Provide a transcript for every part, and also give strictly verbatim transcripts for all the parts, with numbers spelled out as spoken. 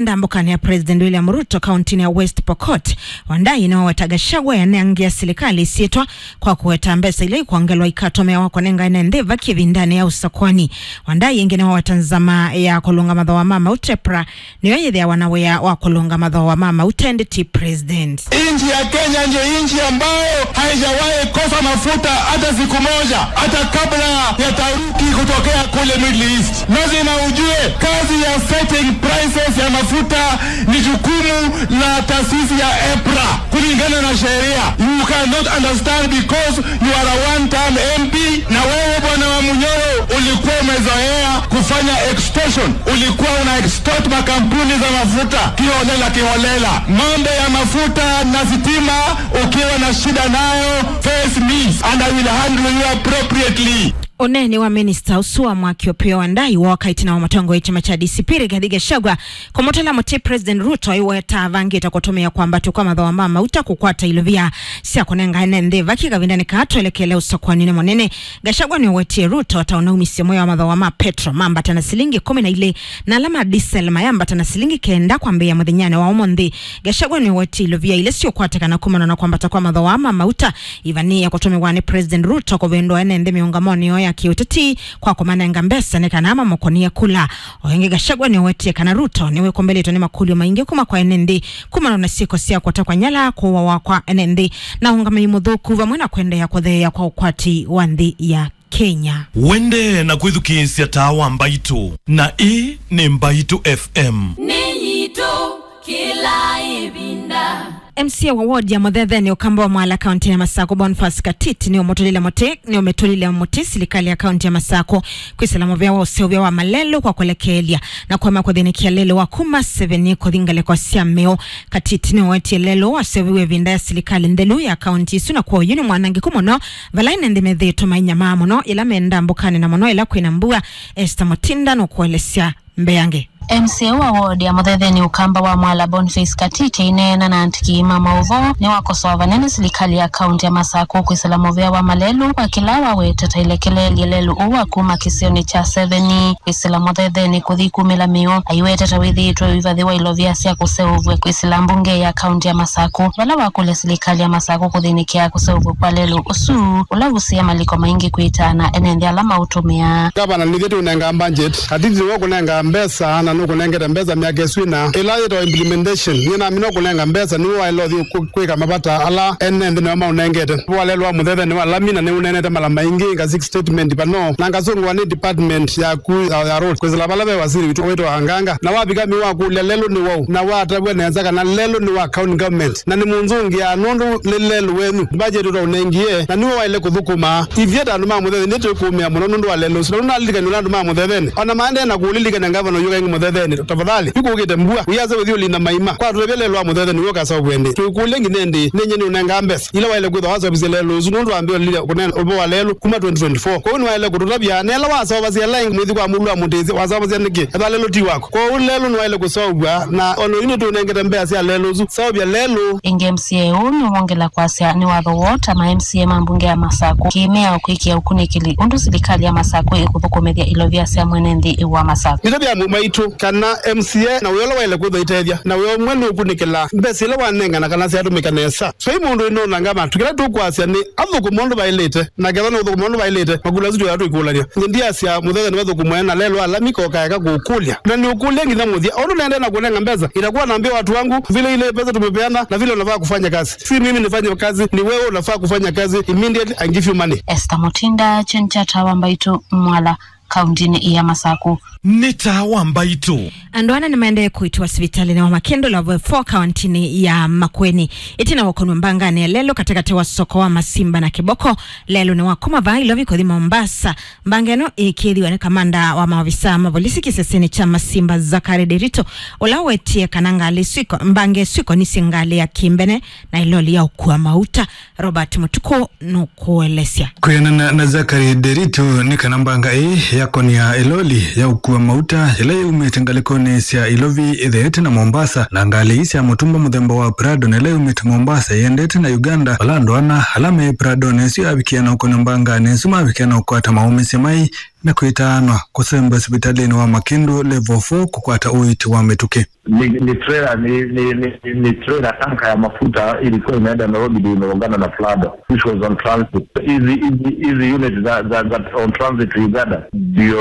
Ndambũkanĩ ya President William Ruto kauntinĩ ya West Pokot, Wandai nĩwaweta Gachagua eanangĩa silikalĩ ĩsyĩtwa kwa kũweta mbesa ila ikwongelwa ikatũmĩawa kũnenga ene nthĩ vaki ĩvindanĩ ya ũsakwani. Wandai ĩngĩ nĩwaweta nzama ya kũlũnga mathooa ma mauta EPRA nĩyo yĩthĩawa na wĩa wa kũlũnga mathooa ma mauta ĩndĩ ti president. Nchi ya Kenya ndio nchi ambayo haijawahi kosa mafuta hata siku moja, hata kabla ya taharuki kutokea kule Middle East. Lazima ujue kazi ya setting prices ya mafuta ni jukumu la taasisi ya EPRA kulingana na sheria. You cannot understand because you are a one-term M P. Na wewe, bwana wa Munyoro, ulikuwa umezoea kufanya extortion. Ulikuwa una extort makampuni za mafuta kiholela kiholela. Mambo ya mafuta na sitima, ukiwa na shida nayo, face me and I will handle you appropriately. Ũneeni wa minista ũsu wa mwaki Opiyo Wandayi wooka ĩtina wa mũtongoi wa kyama kya D C P Rigathi Gachagua kũmũtũla mũtĩ President Ruto aiweta avangĩte kũtũmĩa kwambatw'a kwa mathooa ma mauta kũkwata ilovia sya kũnenga ene nthĩ vaki kavindanĩ kaa twelekele ũsakũanĩnĩ mũnene. Gachagua nĩũwetie Ruto ta ũnaumisye mwĩao wa mathooa ma petro mambata na silingi ĩkũmi na ilĩ na ala ma diesel mayambata na silingi kenda kwambĩĩa mũthenyanĩ wa ũmũnthĩ. Gachagua nĩũwetie ilovia ila siũkwatĩkana kumana na kwambata kwa mathooa ma mauta ivanĩĩe kũtũmĩwa nĩ President Ruto kũvĩndũa ene nthĩ mĩũngamonĩ yoo ya kĩũteti kwa kũmanenga mbesa nĩ kana mamũkũnĩe kula. O ĩngĩ, Gachagua nĩũwetie kana Ruto nĩwĩkũmbĩlĩtwe nĩ makũlyo maingĩ kuma kwa ene nthĩ kumana na syĩko sya kũtekwa nyala, kũũawa kwa ene nthĩ, na ũngamĩi mũthũku, vamwe na kũendeea kũtheea kwa ũkwati wa nthĩ ya Kenya. Wendee na kwĩthukĩĩsya Taa wa Mbaitũ, na ĩĩ nĩ Mbaitũ F M. Nĩ yitũ kĩla ĩvinda. M C A wa ward ya Mũthetheni Ũkamba wa Mwala kaunti ya Masakũ, Boniface Katiti, nĩũmũtũlile mũtĩ, nĩũmĩtũlile mũtĩ silikalĩ ya kaunti ya Masakũ kwĩsĩla mũvea wa ũseũvya wa malelũ kwa kũlekeelya na kũema kũthĩnĩkĩa lelũ wa kuma Seveni kũthi ngalĩko sya Mĩũ. Katiti nĩwetie lelũ waseũviw'e ĩvinda ya silikalĩ nthelu ya kaunti ĩsu, na kwoou nĩ mwanangĩku mũno vala ene nthĩ methĩĩtwe mainyamaa mũno yĩla me ndambũkanĩ na mũno yĩla kwĩna mbua. Esther Mutinda nũkũelesya mbeange. M C A wa ward ya Mũthetheni Ũkamba wa Mwala, Boniface Katiti, aineena na andĩki ma maũvoo nĩwakosoa vanene silikalĩ ya kaunti ya Masakũ kwĩsĩla mũvea wa malelũ kwa kĩla wawete ta ilekeleelye lelũ ũũ wa kuma kĩsionĩ kya Seveni kwĩsĩla Mũthetheni kũthi kumĩla Mĩũ. Aiwete ta wĩthĩĩtwe ũivathĩwa ilovia sya kũseũvw'a kwĩsĩla mbunge ya kaunti ya Masakũ, vala wakũlya silikalĩ ya Masakũ kũthĩnĩkĩa kũseũvw'a kwa lelũ ũsu ũla ũsĩe maliko maingĩ kwĩtaana ene nthĩ ala maũtũmĩaa. Gavana nĩthe tũnenga budget, Katiti nĩwe ũkũnenga mbesa, na nũkũnengete mbesa myaka ĩsu ĩna. Ĩla yĩtawa implementation, nĩ namina ũkũnenga mbesa, nĩwe waĩle ũthi kũ-, kwĩka mavata ala ene nthĩ nĩwe maũnengete. Walelũ wa Mũthetheni wa lami, na nĩũneenete mala maingĩ, nga six statement pano, na ngasũngũa nĩ department yaku ya, ya road, kwĩsĩla vala ve wasili witũ wĩtawa Anganga. Na wavika Mĩũ wakũlya lelũ nĩ waũ, na watavw'a nesa kana lelũ nĩ wa county government. Na nĩmũnzũngĩaa nũndũ nĩ lelũ wenyu. Budget ũtaũnengie, na nĩwe waĩle kũthũkũma. Ithyĩ ta andũ ma Mũthetheni nĩtwĩkũũmĩa mũno nũndũ wa lelũ ũsu. Na nũnalilikany'a ũla andũ ma Mũthetheni. Ona maendee na kũũlilikany'a ngavana ũyũ kaingĩ Mũthetheni, tafadhali, yu kũkĩte mbua, ũyasa ũthi ũlinda maima. Kwa tũtavya lelũ wa Mũthetheni wĩũka saũvwe ĩndĩ. Twĩkũlye nginya ĩndĩ, nĩ nyie nĩũnengaa mbesa ila waĩle kwĩthwa waseũvisye lelũ ũsu nũndũ wambĩĩe ũlilya kũneena ũvoo wa lelũ kuma twenty twenty-four. Kwoou nĩwaĩle kũtũtavya, na ĩla waseũvasya ĩla ĩngĩ mwĩthi kwa mũlũ wa mũtĩsĩ, waseũvasya nĩkĩ? Ethwa lelũ ti waku. Kwoou lelũ nĩwaĩle kũseũvw'a, na ona yu nĩtũnengete mbesa sya lelũ ũsu. Seũvya lelũ. Ĩngĩ M C A ũũ nĩwongela kwasya nĩ watho woo ta ma M C A ma mbunge ya Masakũ kĩmĩao kwĩkĩa ũkunĩkĩli ũndũ silikalĩ ya Masakũ ĩkũthũkũmĩthya ilovia sya mwene nthĩ wa Masakũ. Nĩtavya amwe maitũ kana M C A na wĩa ũla waĩle kwĩthwa ĩtethya, na wĩa ũmwe nĩ ũkunĩkĩla mbesa ila wanengana kana syatũmĩka nesa. Vai mũndũ ĩnonanga matu, kĩla tũkwasya nĩ athũkũma ũndũ vaĩlĩte, na ketha nĩ ũthũkũma ũndũ vaĩlĩte, makũlyo asu twĩaa tũikũlany'a. Nĩ ndiasya Mũthetheni vathũkũmwe na lelũ wa lami koka eka kũkũlya. Na nĩũkũlya nginya mũthya. Ũndũ nĩendee na kũnenga mbesa, itakuwa naambia watu wangu vile ile pesa tumepeana na vile unafaa kufanya kazi. Si mimi nifanye kazi, ni wewe unafaa kufanya kazi immediately and give you money. Esther Mutinda, Chenchata wa Mbaitu, Mwala, kauntinĩ ya Masakũ. Nĩ Taa wa Mbaitũ. Andũ ana nĩmaendee kũitwa sivitalĩnĩ wa Makĩndũ Level four kauntinĩ ya Makueni ĩtina wa kũnwa mbanganĩ ya lelũ katĩkatĩ wa soko wa Masimba na Kĩboko. Lelũ nĩ wa kuma vaa Ilovi kũthi Mombasa. Mbanga ĩno ĩkĩĩthiwa nĩ kamanda wa maovisa ma volisi kĩsesenĩ kya Masimba, Zachary Nderitu, ũla wetie kana ngalĩ ĩsu iko-, mbanga ĩsu ĩkonisye ngalĩ ya kĩmbene na ĩloli ya ũkua mauta. Robert Mũtukũ nũkũelesya. Kwĩanana na Zachary Nderitu, nĩ kana mbanga ĩĩ yakonia ĩloli ya ũkua mauta ĩla yaumĩte ngalĩkonĩ sya Ilovi ĩtheete na Mombasa, na ngalĩ ii sya mũtumba mũthemba wa Prado na ĩla yaumĩte Mombasa ĩendete na Uganda, vala andũ ana ala me Pradonĩ ĩsu yavikie na ũkonia mbanganĩ ĩsu mavikie na ũkwata maũmĩsye mai Na kwĩtaanwa kũsemba sivitalĩnĩ wa Makindu Level four kũkwata ũiiti wa mĩtũkĩ. Ni, ni trailer, ni, ni, ni, ni trailer tanka ya mafuta ilikuwa inaenda Nairobi ndio imegongana na Prado, which was on transit. Hizi, hizi, hizi unit za, za, za on transit to Uganda ndio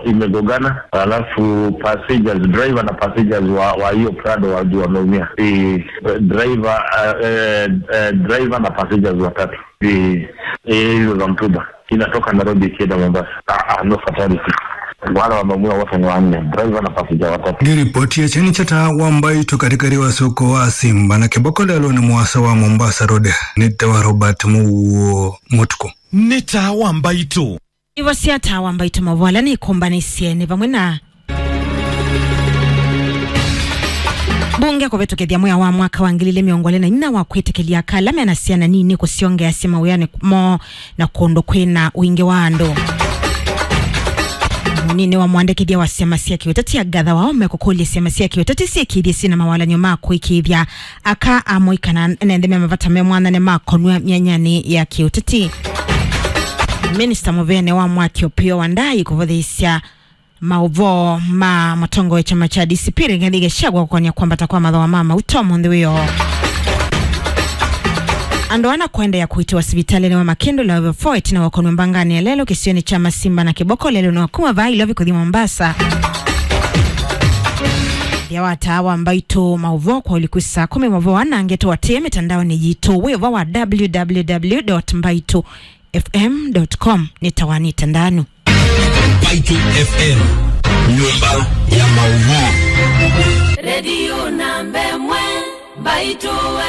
imegongana, alafu passengers, driver na passengers wa, wa hiyo Prado wa, ndio wameumia. Eh, driver, eh, eh, eh, driver na passengers watatu. Eh, eh, hizo za mtumba inatoka Nairobi ikienda Mombasa. Ah, ah, no fatality. Wale wameumia wote ni wanne, driver na passenger watatu. Nĩ ripoti ya kyeni kya taa wa Mbaitu katikati wa soko wa Simba na Kĩboko lelũnĩ mũasa wa Mombasa Road. Nĩ tawa Robert Mũuo Mũtukũ. Nĩ taa wa Mbaitu. Ivo sya taa wa Mbaitu maũvoo ala nĩkũmbanĩsye nĩ vamwe na mbunge kũvĩtũkĩthya mwĩa wa mwaka wa ngili ilĩ mĩongo ĩlĩ na inya wa kwĩtĩkĩlya aka ala mena syana nini kũsyongeasya mawĩanĩ moo na kũndũ kwĩna ũingĩ wa andũ. Mũnini wa mũandĩkĩthya wa syama sya kĩũteti Agatha Waome kũkũlya syama sya kĩũteti syĩkĩĩthye syĩna mawalany'o ma kũĩkĩĩthya aka amũika na ene nthĩ me mavata me mwanya nĩmakonw'a myanyanĩ ya kĩũteti. Minista mũvene wa mwaki Opiyo Wandayi kũvũthĩĩsya maũvoo ma mũtongoi wa kyama kya D C P Rigathi Gachagua kũkonya kwambata kwa mathooa ma mauta ũmũnthĩ wĩoo. Andũ ana kũendeea kũitĩwa sivitalĩnĩ wa Makindu Level four ĩtina wa kũnw'a mbanganĩ ya lelũ kĩsionĩ kya Masimba na Kĩboko lelũnĩ wa kuma vaa Ilovi kũthi Mombasa. Nthĩa wa taa wa Mbaitu maũvoo kwa ũliku saa kũmi maũvoo ana ngeto atĩe mĩtandaonĩ yitũ wĩ ũvoo wa www dot mbaitu F M dot com. Nĩtawanĩte ndanu. Mbaitu F M, nyũmba ya maũvoo. Redio namba ĩmwe, Mbaitu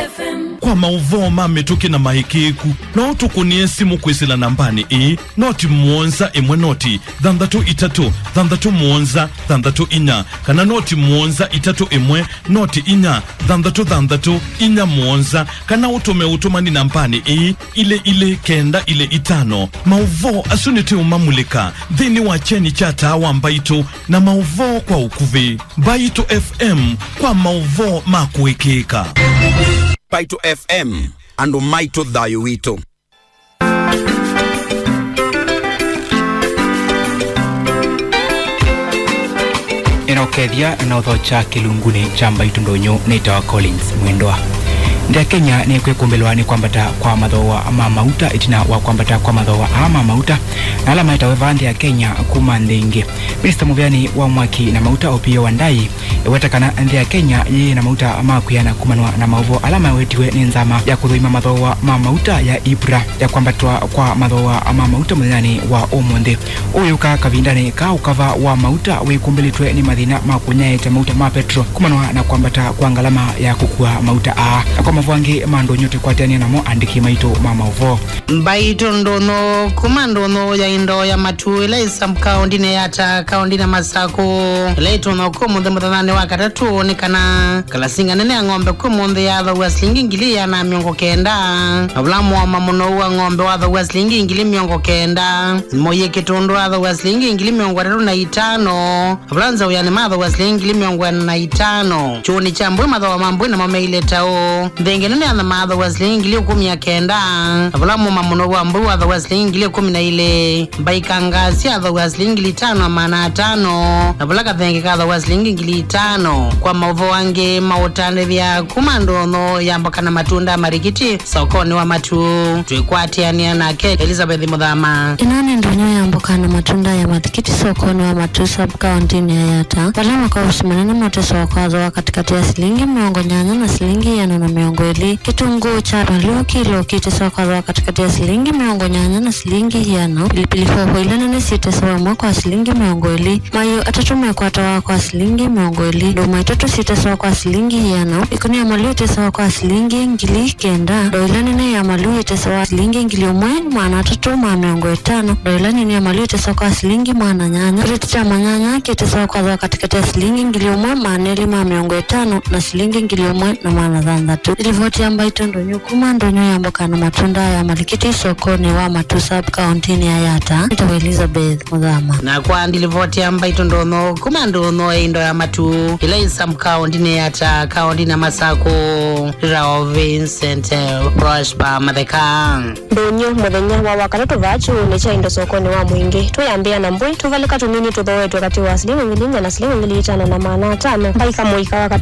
F M. Kwa maũvoo ma mĩtũkĩ na maĩkĩĩku, no ũtũkũnĩe simũ kwĩsĩla nambanĩ ĩĩ, noti mũonza ĩmwe noti thanthatũ itatũ thanthatũ mũonza thanthatũ inya, kana noti mũonza itatũ ĩmwe noti inya thanthatũ thanthatũ inya mũonza, kana ũtũme ũtũmani nambanĩ ĩĩ, ilĩ ilĩ kenda ilĩ itano. Maũvoo asu nĩtũũmamulĩka nthĩnĩ wa kyeni kya taa wa Mbaitũ na maũvoo kwa ũkuvĩ. Mbaitũ F M, kwa maũvoo ma kũĩkĩĩka. Mbaitũ F M, andũ maitũ, thayũ witũ. Nĩnokethya na ũthokya kĩlungunĩ kya Mbaitũ Ndũnyũ nĩtawa Collins Mwendwa. Nthĩ ya Kenya nĩkwĩkũmbĩlwa nĩ kwambata kwa mathooa ma mauta ĩtina wa kwambata kwa mathooa aa ma mauta na ala maetawe vaa nthĩ ya Kenya kuma nthĩ ingĩ. Minista mũveani wa mwaki na mauta Opiyo Wandayi eweta kana nthĩ ya Kenya yĩ na mauta ma kwĩana kumanwa na maũvoo ala mawetiwe nĩ nzama ya kũthũima mathooa ma mauta ya IPRA ya kwambatwa kwa mathooa ma mauta mũthenyanĩ wa ũmũnthĩ. Ũũ wĩũka kavindanĩ ka ũkava wa mauta wĩkũmbĩlĩtwe nĩ mathĩna ma kũnyaĩĩkya mauta ma petro kumanwa na kwambata kwa ngalama ya kũkua mauta aa. Na kwa maũvoo angĩ ma ndũnyũ tũkwatĩanĩa namo andĩki maitũ ma maũvoo. Mbaitũ Ndũnyũ kuma Ndũnyũ ya indo ya matu ĩla ĩ sub-kaũndĩnĩ ya Ata, kaũndĩnĩ ya Masaku, ĩla ĩtonya ũkũmũnthĩ mũthenyanĩ wa katatũ nĩ kana kalasinga nene ya ng'ombe kwĩ mũnthĩ yathaw'a silingi ngili ĩana na mĩongo kenda, na vula mũoma mũnou wa ng'ombe wathaw'a silingi ngili mĩongo kenda, mũyĩ kĩtũndũ athaw'a silingi ngili mĩongo ĩtatũ na itano, na vula nzaũ ya nĩ mathaw'a silingi ngili mĩongo ĩna na itano. Kyũũnĩ kya mbũi mathooa ma mbũi namo meile ta ũũ. Nthenge nene ya nyama athaw'a silingi ngili ĩkũmi na kenda, na vula mũoma mũnou wa mbũi wathaw'a silingi ngili ĩkũmi na ilĩ. Mbaikanga syathaw'a silingi ngili itano na maana atano, na vula kathenge kathaw'a silingi ngili itano. Kwa maũvoo angĩ ma ũtandĩthya kuma Ndũnyũ ya mboka na matunda Marikiti sokonĩ wa matu, twĩkwatĩanĩa nake Elizabeth Mũthama. Ĩno nĩ Ndũnyũ ya mboka na matunda ya Marikiti sokonĩ wa matu sub-kaũndĩnĩ ya Yatta, vala makosi manene ma ũteso wa kwathooa katĩkatĩ ya silingi mĩongo nyanya na silingi ĩana na mĩongo ĩlĩ. Kĩtũngũũ kya valũ kilo kĩteso wa kwathooa katĩkatĩ ya silingi mĩongo nyanya na silingi ĩana. Pilipili hoho ila nene syĩtesawa ĩmwe kwa silingi mĩongo ĩlĩ. Mayũ atatũ mekwatawa kwa silingi mĩongo ĩlĩ. Ndũma itatũ syĩtesawa kwa silingi ĩana. Ĩkũnia ya malũ ĩtesawa kwa silingi ngili kenda. Ndoo ila nene ya malũ ĩtesawa silingi ngili ũmwe maana atatũ ma mĩongo ĩtano. Ndoo ila nini ya malũ ĩtesawa kwa silingi maana nyanya. Kĩreti kya manyanya kĩtesawa kwathooa katĩkatĩ ya silingi ngili ũmwe maana elĩ ma mĩongo ĩtano na silingi ngili ũmwe na maana thanthatũ. Livoti ya mbaitũ ndũnyũ kuma ndũnyũ ya mboka na matunda ya Malikiti sokonĩ wa Matu sub kauntinĩ ya Yatta. Nĩtawa Elizabeth Mũthama. Na kwa ndilivoti ya mbaitũ ndũnyũ kuma ndũnyũ ya indo ya Matu ila i sub kauntinĩ ya Yatta kauntinĩ ya Masakũ, nĩtawa Vincent Prosper Matheka. Ndũnyũ mũthenya wa Wakatatũ vaa kyuunĩ kya indo sokonĩ wa Mwingĩ, twĩambĩa na mbũi, tũvalĩka tũnini tũthooetwe katĩ wa silingi ngili inya na silingi ngili itano na maana atano. Mbaika mũika wa katĩ